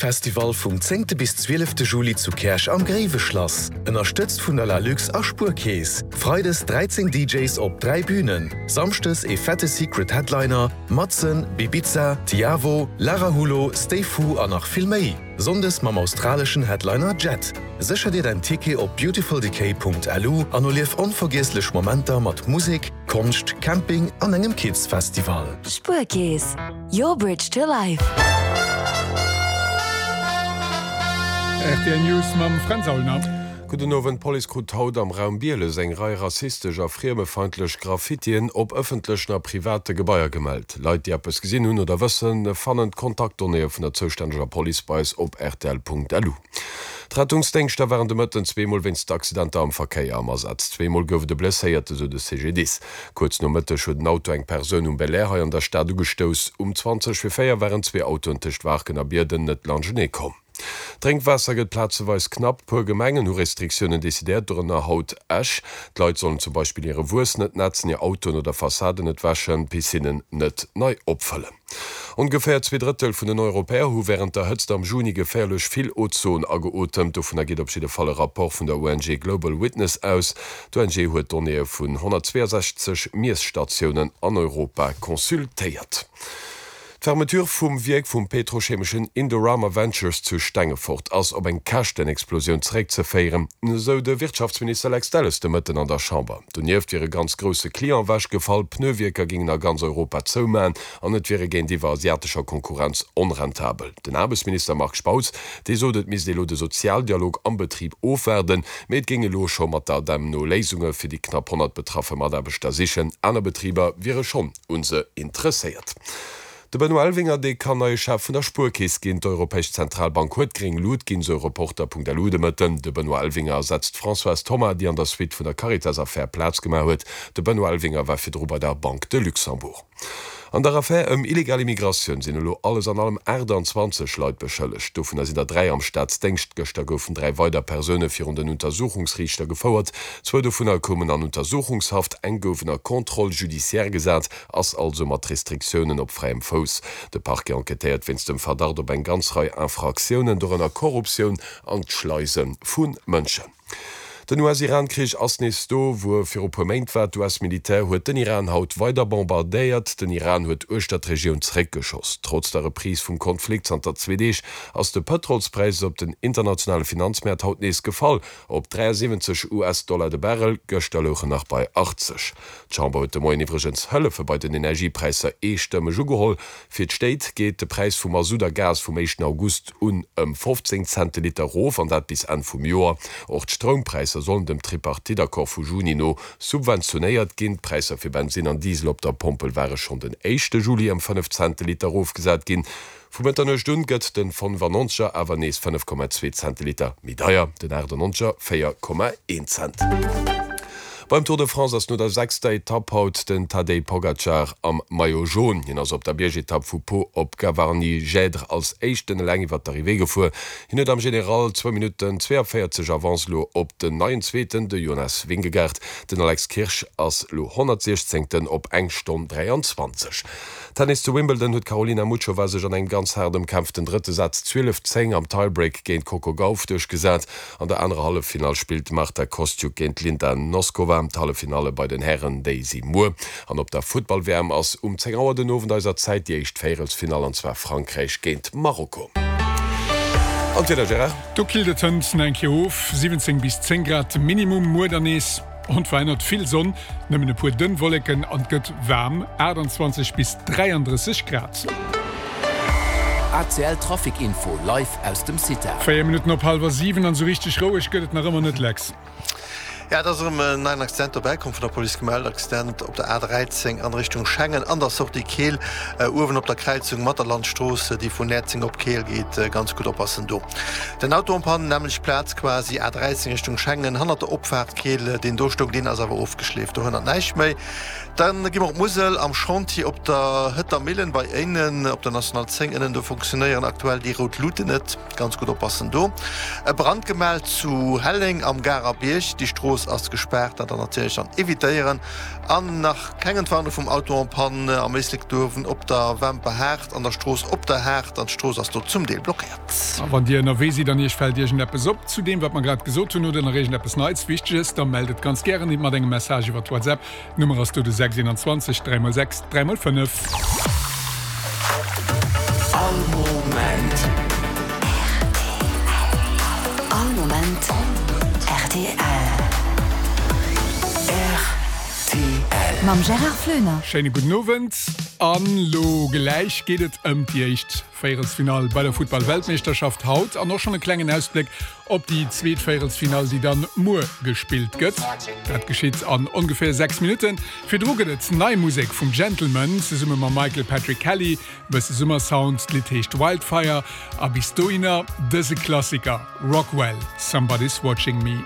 Festival vum zéngte bis zwielefte Juli zu Käerch am Gréiweschlass. Ënnerstëtzt vun der Lalux a Spuerkeess. Freides 13 DJs op 3 Bünen, Samschdes ee fette Secret Headliner, Madsen, Bibiza, Tiavo, Lara Hulo, Stay Fu a nach vill méi. Sonndes mam australeschen Headliner Jet. Sécher dir däin Ticket op beautifuldecay.lu an erlief onvergiesslech Momenter mat Musek, Konscht, Camping an engem Kids Festival. Spuerkeess, your bridge to life. Rtl News mam Fränz Aulner. Gudden Owend, D'Police krut haut am Raum Bieles eng Rei rassistesch a friemefeindlech Graffitien op ëffentlechen a private Gebaier gemellt. Leit, déi eppes gesinn hunn oder wëssen, fannen d'Kontaktdonnéeë vun der zoustänneger Police bei eis op rtl.lu. D'Rettungsdéngschter waren de Mëtten zweemol wéinst Accidenter am Verkéier am Asaz. Zweemol gouf et e Blesséierte, sou de CGDIS. Kuerz no Mëtteg huet en Auto eng Persoun um Belair hei an der Stad ugestouss. Um 20 vir 4 waren zwee Autoen tëscht Waarken a Bierden net laanschtenee komm. D'Drénkwaasser gëtt plazeweis knapp. Puer Gemengen hu Restriktiounen decidéiert, dorënner haut Esch. D'Leit sollen zum Beispill hire Wuess net nätzen, hir Autoen oder Fassaden net wäschen, Piscinnen net nei opfëllen. Ongeféier zweeDrëttel vun den Europäer hu wärend der Hëtzt am Juni geféierlech vill Ozon ageotemt. Dovunner geet op jidde Fall e Rapport vun der ONG Global Witness aus. D'ONG huet Donnéeë vun 162 Miesstatiounen an Europa consultéiert. D'Fermeture vum Wierk vum petrochemeschen Indorama Ventures zu Stengefort ass op eng Käschtenexplosioun zeréckzeféieren, esou de Wirtschaftsminister Lex Delles de Mëtten an der Chamber. Donieft wier e ganz grousse Client ewechgefall, Pneuwierker géingen a ganz Europa zoumaen an et wiere géintiwwer asiatescher Konkurrenz onrentabel. Den Aarbechtsminister Marc Spautz, dee sot, et misst ee lo de Sozialdialog am Betrib ofwaarden, mee et géing elo scho mat der ADEM no Léisunge fir déi knapp 100 betraffe Mataarbechter sichen. Aner Betriber wiere schonn un se interesséiert. De Benoît Elvinger, dee kann neie Chef vun der Spuerkeess ginn. D'Europäesch Zentralbank huet gréng Lut ginn, sou Reporter.lu de Mëtten. De Benoît Elvinger ersetzt d'Françoise Thoma, déi an der Suite vun der Caritas-Affär Plaz gemaach huet. De Benoît Elvinger war virdru bei der Banque de Luxembourg. An der Affär ëm illegal Immigratioun sinn elo alles an allem 28 Leit beschëllegt. Dovunner sinn der 3 am Staatsdéngscht. Gëschter goufen 3 weider Persoune virun den Untersuchungsriichter gefouert. Zwou dovunner koumen an Untersuchungshaft, eng gouf ënner Contrôle judiciaire gesat, ass also mat Restriktiounen op fräiem Fouss. De Parquet enquêtéiert wéinst dem Verdacht op eng ganz Rei Infraktiounen, dorënner Korruptioun an d'Schleise vu Mënschen. Den US-Iran-Krich ass nees do, wou e viru puer Méint war. D'US-Militär huet den Iran haut weider bombardéiert. Den Iran huet uechter d'Regioun zeréckgeschoss. Trotz der Reprise vum Konflikt zanter zwee Deeg ass de Pëtrolspräis op den internationale Finanzmäert haut nees gefall. Op 73 US-Dollar de Barrel, gëschter louch en nach bei 80. D'Chamber huet de Moien iwwregens Hëllefe bei den Energiepräisser eestëmmeg ugeholl. Fir d'Stéit geet de Präis vu Masutt a Gas vum éischten August un ëm 15 Cent de Liter erof, an dat bis Enn vum Joer. Och d'Stroumpräisser sollen dem Tripartite-Accord vu Juni no subventionéiert ginn. D'Präisser fir Bensinn an Diesel op der Pompel ware schonn den éischte Juli ëm 5 Cent de Liter erofgesat ginn. Vu Mëtternuecht un gëtt den 95er awer nees 5,2 Cent de Liter méi deier, den 98er 4,1 Cent. Beim Tour de France ass no der sechster Etapp haut den Tadej Pogacar am Maillot Jaune. Hien ass op der Biergetapp vu Pau op Gavarnie-Gèdre als éischten eleng iwwer d'Arrivée gefuer. Hien huet am General zwou Minutten 42 Avance elo op den neien Zweeten, de Jonas Vingegaard. Den Alex Kirsch ass elo 116. Op eng Stonn 23. Tennis, Zu Wimbledon huet d'Karolina Muchova sech an engem ganz haart ëmkämpften drëtte Saz 12, 10 am Tiebreak géint d'Coco Gauff duerchgesat. An der anerer Halleffinall spillt d'Marta Kostyuk géint d'Linda Noskova. D'Halleffinalle bei den Hären, déi si muer. An op der Futtball-WM ass um 10 Auer den Owend eiser Zäit déi éischt Véierelsfinall, an zwar Frankräich géint Marokko. An d'Wieder, Gérard? Do killt et hënt nach eng Kéier of, 17 bis 10 Grad Minimum, muer dann nees Onverännert vill Sonn, nëmmen e puer dënn Wolleken an et gëtt waarm, 28 bis 33 Grad. ACL Trafic Info live aus dem CITA. 4 Minutten op hallwer 7 an esou richteg roueg gëtt et nach ëmmer net, Lex. Ja, et ass erëm en neien Accident dobäi komm, vun der Police gemellt. Accident op der A13 an Richtung Schengen an der Sortie Keel, uewen op der Kräizung mat der Landstrooss, déi vun Näerzeng op Keel geet. Ganz gutt oppassen do. Den Auto en panne, nämmlecht Plaz quasi, A13 Richtung Schengen, hannert der Opfaart Keel, deen do stoung, deen ass awer ofgeschleeft, do hënnert näischt méi. Dann gi mer op d'Musel am Chantier op der Hëtter Millen bei Éinen op der National 10 ënnen. Do funktionéieren aktuell déi rout Luuten net. Ganz gutt oppassen do. E Brand gemellt zu Helleng am Garer Bierg. Déi Strooss ass gespaart, dat dann natierlech dann evitéieren. An nach keng Entwarnung vum Auto en panne am Éislek Duerwen op der Wämper Haart an der Strooss Op der Haart an d'Strooss ass do zum Deel blockéiert. A wann Dir ënnerwee sidd an Iech fält iergendeppes op zu deem, wat mer grad gesot hunn, oder nach iergendeppes Neits, Wichteges, da mellt et ganz gären mat engem Message iwwer WhatsApp. D'Nummer ass do de 6 21 3 x 6 3 x 5. All Moment. All Moment rtl. Rtl. Mam Gérard Flöner. Schéine gudden Owend. An lo gläich geet et ëm déi éischt Véierelsfinall bei der Futtball-Weltmeeschterschaft haut an och schonn e klengen Ausbléck op déi zweet Véierelsfinall, déi dann muer gespillt gëtt. Dat geschitt an ongeféier 6 Minutten. Virdru gëtt et nei Musek vum Gentleman zesumme mam Michael Patrick Kelly, e bësse Summersound, d'Lidd heescht Wildfire a bis dohinner dëse Klassiker Rockwell, Somebody's Watching Me.